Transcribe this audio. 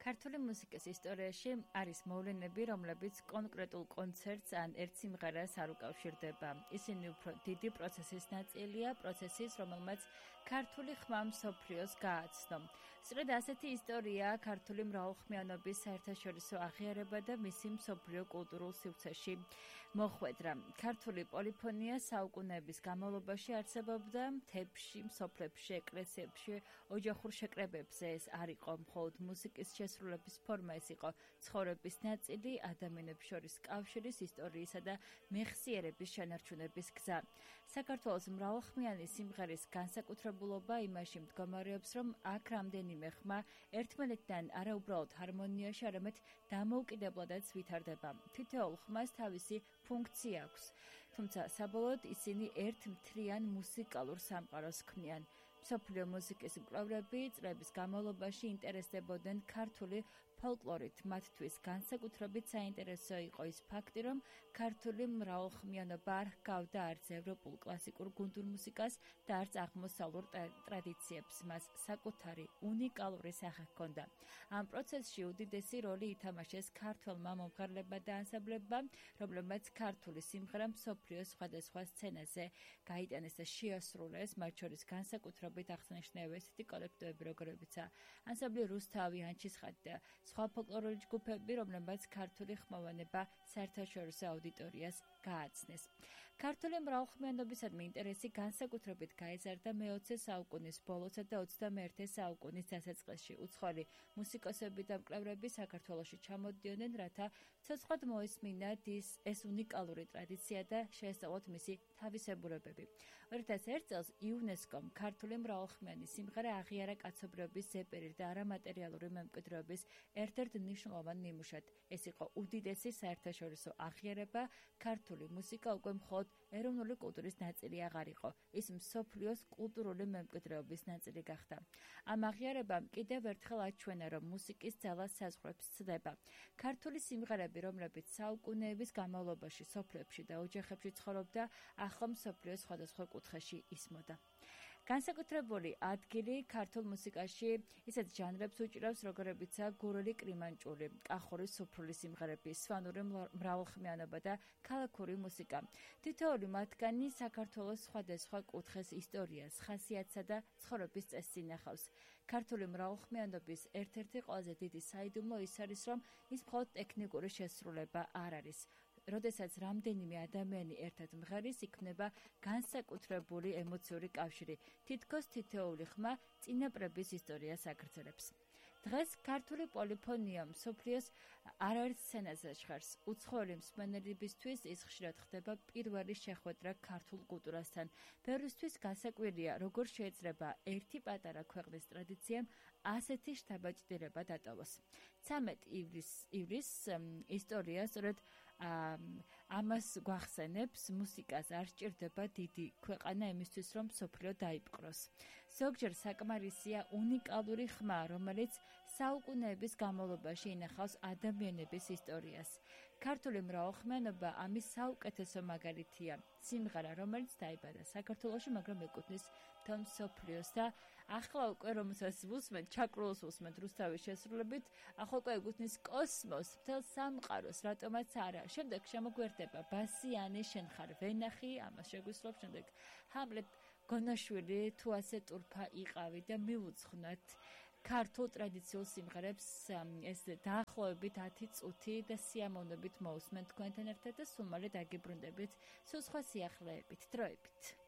ქართული მუსიკის ისტორიაში არის მოვლენები, რომლებიც კონკრეტულ კონცერტს ან ერთ სიმღერას არ უკავშირდება. ისინი უფრო დიდი პროცესის ნაწილია, პროცესის, რომელმაც ქართული ხმა მსოფლიოს გააცნო. სწორედ ასეთი ისტორიაა ქართული მრავალხმიანობის საერთაშორისო აღიარება და მისი მსოფლიო კულტურულ სივრცეში მოხვედრა. ქართული პოლიფონია საუკუნეების განმავლობაში არსებობდა მთებში, მსოფლებში, ეკლესიებში, ოჯახურ შეკრებებზე. ეს არ იყო მხოლოდ მუსიკის შესრულების ფორმა, ეს იყო ცხოვრების ნაწილი, ადამიანებს შორის კავშირის, ისტორიისა და მეხსიერების შენარჩუნების გზა. საქართველოს მრავალხმიანი სიმღერის განსაკუთრებულობა იმაში მდგომარეობს, რომ აქ რამდენიმე ხმა ერთმანეთთან არა უბრალოდ ჰარმონიაში, არამედ დამოუკიდებლადაც ვითარდება. თითოეულ ხმას თავისი ფუნქცია აქვს, თუმცა საბოლოოდ ისინი ერთ მთლიან მუსიკალურ სამყაროს ქმნიან. მსოფლიო მუსიკის მკვლევრები წლების განმავლობაში ინტერესდებოდნენ ქართული ფოლკლორით. მათთვის განსაკუთრებით საინტერესო იყო ის ფაქტი, რომ ქართული მრავალხმიანობა არ ჰგავდა არც ევროპულ კლასიკურ გუნდურ მუსიკას და არც აღმოსავლურ ტრადიციებს. მას საკუთარი უნიკალური სახე ჰქონდა. ამ პროცესში უდიდესი როლი ითამაშეს ქართველმა მომღერლებმა და ანსამბლებმა, რომლებმაც ქართული სიმღერა მსოფლიოს სხვადასხვა სცენაზე გაიტანეს და შეასრულეს, მათ შორის განსაკუთრებით აღსანიშნავია ესეთი კოლექტივები, როგორებიცაა ანსამბლი რუსთავი, ანჩისხატი და სხვა ფოლკლორული ჯგუფები, რომლებმაც ქართული ხმოვანება საერთაშორისო აუდიტორიას გააცნეს. ქართული მრავალხმიანობისადმი ინტერესი განსაკუთრებით გაიზარდა მე-20 საუკუნის ბოლოსა და 21 საუკუნის დასაწყისში. უცხოელი მუსიკოსები და მკვლევრები საქართველოში ჩამოდიოდნენ, რათა ცოცხლად მოესმინათ ეს უნიკალური ტრადიცია და შეესწავლოთ მისი თავისებურებები. 2001 წელს იუნესკომ ქართული მრავალხმიანი სიმღერა აღიარა კაცობრიობის ზეპირი და არამატერიალური მემკვიდრეობის ერთ-ერთ მნიშვნელოვან ნიმუშად. ეს იყო უდიდესი საერთაშორისო აღიარება. ქართული მუსიკა უკვე მხოლოდ ეროვნული კულტურის ნაწილი აღარ იყო, ის მსოფლიოს კულტურული მემკვიდრეობის ნაწილი გახდა. ამ აღიარებამ კიდევ ერთხელ აჩვენა, რომ მუსიკის ძალა საზღვრებს ცდება. ქართული სიმღერები, რომლებიც საუკუნეების განმავლობაში სოფლებში და ოჯახებში ცხოვრობდა, ახლა მსოფლიოს სხვადასხვა კუთხეში ისმოდა. განსაკუთრებული ადგილი ქართულ მუსიკაში ისეთ ჟანრებს უჭირავს, როგორებიცაა გურული კრიმანჭული, კახური სუფრული სიმღერები, სვანური მრავალხმიანობა და ქალაქური მუსიკა. თითოეული მათგანი საქართველოს სხვადასხვა კუთხეს ისტორიას, ხასიათსა და ცხოვრების წესს ინახავს. ქართული მრავალხმიანობის ერთ-ერთი ყველაზე დიდი საიდუმლო ის არის, რომ ის მხოლოდ ტექნიკური შესრულება არ არის. როდესაც რამდენიმე ადამიანი ერთად მღერის, იქმნება განსაკუთრებული ემოციური კავშირი. თითქოს თითოეული ხმა წინაპრების ისტორიას აგრძელებს. დღეს ქართული პოლიფონია მსოფლიოს არაერთ სცენაზე ჟღერს. უცხოელი მსმენელებისთვის ის ხშირად ხდება პირველი შეხვედრა ქართულ კულტურასთან. ბევრისთვის გასაკვირია, როგორ შეიძლება ერთი პატარა ქვეყნის ტრადიციამ ასეთი შთაბეჭდილება დატოვოს. 13 ივრის ისტორია სწორედ ამას გვახსენებს. მუსიკას არ სჭირდება დიდი ქვეყანა იმისთვის, რომ მსოფლიო დაიპყროს. ზოგჯერ საკმარისია უნიკალური ხმა, რომელიც საუკუნეების განმავლობაში ინახავს ადამიანების ისტორიას. ქართული მრავალხმიანობა ამის საუკეთესო მაგალითია. სიმღერა, რომელიც დაიბადა საქართველოში, მაგრამ ეკუთვნის მთელ მსოფლიოს და ახლა უკვე რომელსაც ვუსმენთ, ჩაკრულოს ვუსმენთ რუსთავის შესრულებით, ახლა უკვე ეკუთვნის კოსმოსს, მთელ სამყაროს, რატომაც არა. შემდეგ შემოგვერდება ბასიანი, შენ ხარ ვენახი, ამას შეგვისწრებს, შემდეგ ჰამლეტ გონაშვილი, თუ ასე ტურფა იყავი და მივუძღვნათ ქართულ ტრადიციულ სიმღერებს ეს დაახლოებით 10 წუთი და სიამოვნებით მოусმენთ თქვენთან ერთად და სულ მალე დაგიბრუნდებით სულ სხვა სიახლეებით, დროებით.